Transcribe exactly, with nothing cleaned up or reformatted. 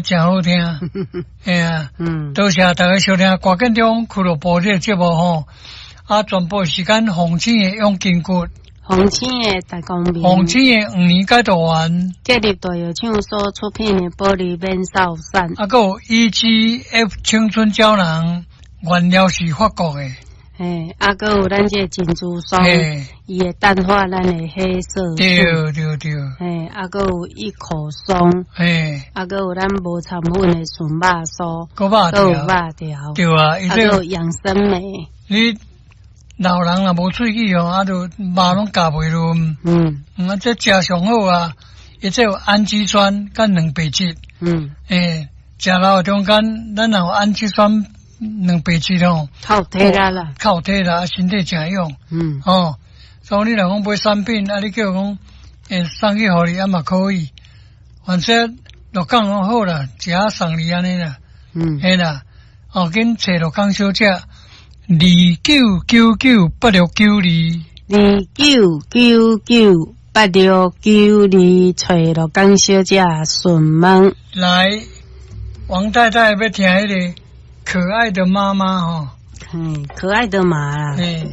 誠好聽，嘿啊，嗯，多謝大家收聽歌建中俱樂部這個節目吼，啊，全部時間紅星的養筋骨，紅星的大光明，紅星的黃連解毒丸，建立大藥廠所出品的保利免瘦散，啊，閣有 E G F 青春膠囊，原料是法國的，嘿，啊，閣有咱這個珍珠霜，伊會淡化咱的黑色素，對對對，嘿，啊，閣有一口霜，嘿，啊，閣有咱無摻粉的純肉酥，閣肉閣有肉條，對啊，啊，閣有養生酶，你老人若無喙齒吼，啊，就肉攏咬袂落，嗯，啊，這食上好啊，伊這有氨基酸佮蛋白質，嗯，欸，食老的中間，咱若有氨基酸蛋白質吼，較有體力啦，較有體力，身體誠勇，嗯，哦，所以你若講買產品，啊，你叫講，欸，送去予你啊嘛可以，反正鹿港攏好啦，一盒送你按呢啦，嗯，嘿啦，哦，緊揣鹿港小姐，二九九九八六九二，二九九九八六九二，揣鹿港小姐詢問。來，王太太欲聽彼個可愛的媽媽吼，嗯，可愛的媽啦。嗯。